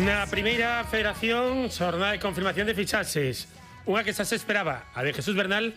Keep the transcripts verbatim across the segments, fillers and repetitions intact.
Na primeira federación, xornada de confirmación de fichaxes. Unha que xa se esperaba, a de Jesús Bernal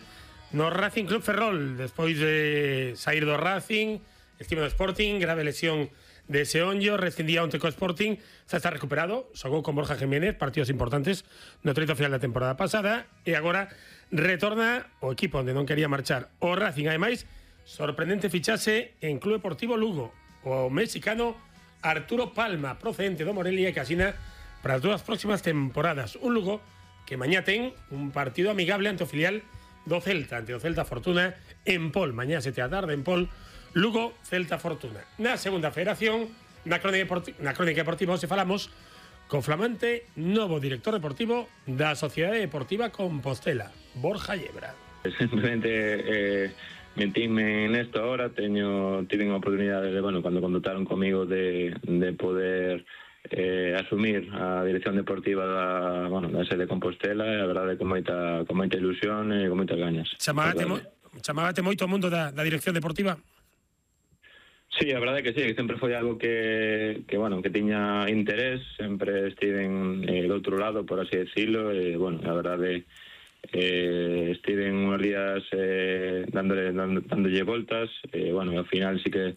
no Racing Club Ferrol, despois de sair do Racing, estima do Sporting, grave lesión de Seonllo, rescindía onte co Sporting, xa está recuperado, xogou con Borja Jiménez, partidos importantes no treito final da temporada pasada, e agora retorna o equipo onde non quería marchar o Racing. Ademais, sorprendente fichaxe en Club Deportivo Lugo, o mexicano Arturo Palma, procedente do Morelia, que asina para as dúas próximas temporadas. Un Lugo que mañá ten un partido amigable ante o filial do Celta, ante o Celta Fortuna en Pol. Mañá sete da tarde en Pol, Lugo, Celta Fortuna. Na segunda federación, na crónica deportiva, na crónica deportiva hoxe falamos co flamante novo director deportivo da Sociedade Deportiva Compostela, Borja Yebra. Simplemente eh, metíme nesto ahora, teño tive unha oportunidade de, bueno, cando contactaron comigo de, de poder eh, asumir a dirección deportiva da, bueno, da sede de Compostela, e a verdade con moita, con moita ilusión e con moitas gañas. Chamábate, mo, chamábate moito o mundo da, da dirección deportiva? Sí, a verdade que sí, que sempre foi algo que, que bueno, que tiña interés, sempre estiven eh, do outro lado, por así decirlo, e, bueno, a verdade eh, estiven unos días eh, dándole, dando, dándolle voltas, e, bueno, ao final sí que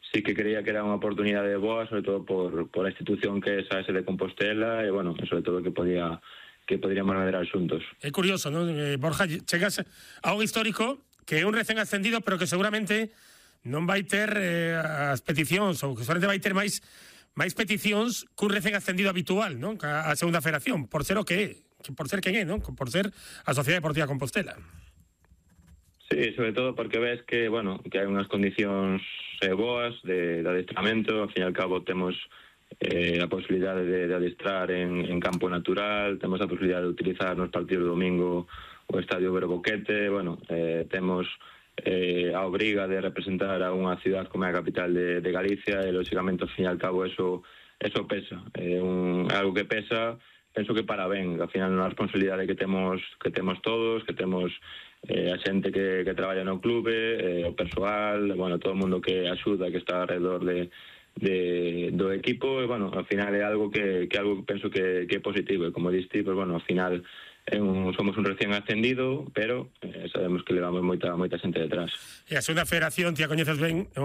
sí que creía que era unha oportunidade boa, sobre todo por, por a institución que é esa S de Compostela, e, bueno, sobre todo que podía que poderíamos maderar xuntos. É curioso, non? Eh, Borja, chegas a un histórico que é un recén ascendido, pero que seguramente non vai ter eh, as peticións, ou que seguramente vai ter máis máis peticións que un recén ascendido habitual, non? A, a segunda federación, por ser o que é, por ser quen é, non? Por ser a Sociedade Deportiva Compostela. Sí, sobre todo porque ves que, bueno, que hai unhas condicións eh, boas de, de adestramento. Ao fin e al cabo temos eh, a posibilidade de, de adestrar en, en campo natural, temos a posibilidade de utilizar nos partidos do domingo o Estadio Verboquete, bueno, eh, temos eh, a obriga de representar a unha ciudad como é a capital de, de Galicia, e lógicamente ao fin e al cabo eso, eso pesa, é un, algo que pesa, penso que para ben, ao final é unha responsabilidade que temos que temos todos, que temos eh, a xente que, que traballa no clube, eh, o persoal, bueno, todo o mundo que axuda, que está alrededor de, de, do equipo, e, bueno, ao final é algo que, que algo que penso que, que é positivo, e como diste, pues, bueno, ao final é un, somos un recién ascendido, pero eh, sabemos que levamos moita, moita xente detrás. E a segunda federación, ti a coñeces ben, é unha